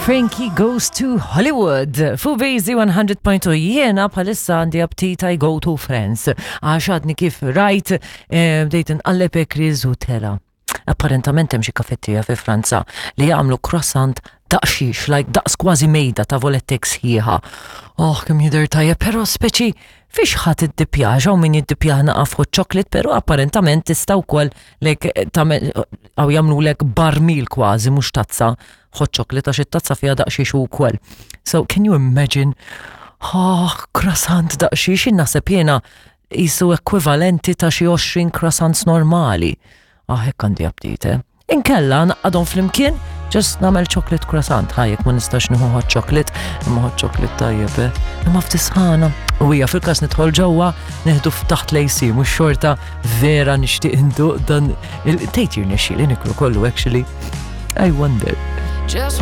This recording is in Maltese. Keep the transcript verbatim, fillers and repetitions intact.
Frankie Goes to Hollywood. Fu Bejzi one hundred point two, jiena bħalissa għandi aptit I go to France. Għax għadni kif rajt, eh, bdejt nqalleb ekriz u tela. Apparentament hemm xi kafetterija fi Franza li jagħmlu croissant daqsxiex, like daqs kważi mejda ta' volettek sħiħa. Oh, kemm jidher tajjeb, però speċi fiex ħadd iddipjaġa u min jiddipjaħ naqaf hot chocolate, però apparentament tista' wkoll lek tagħmel għaw jagħmlulek barmil kważi, mhux tazza hot chocolate, għax it-tazza fiha daqsxiex ukoll. So can you imagine? Oh, croissant daqsxiex, naħseb jiena jisu ekwivalenti ta' xi għoxrin croissants normali. Ah, hekk għandi aptit, eh? Inkella naqadhom flimkien, just nagħmel chocolate croissant, ħa jekk ma nistax nieħu hot chocolate, imma hot chocolate tajjeb, eh? Imma f'tisħana. U hija fil-każ nidħol ġewwa neħdu f'taħt l-A C, mhux xorta vera nixtieq induq dan il-tejt jirnexxi li niklu kollu actually. I wonder. Just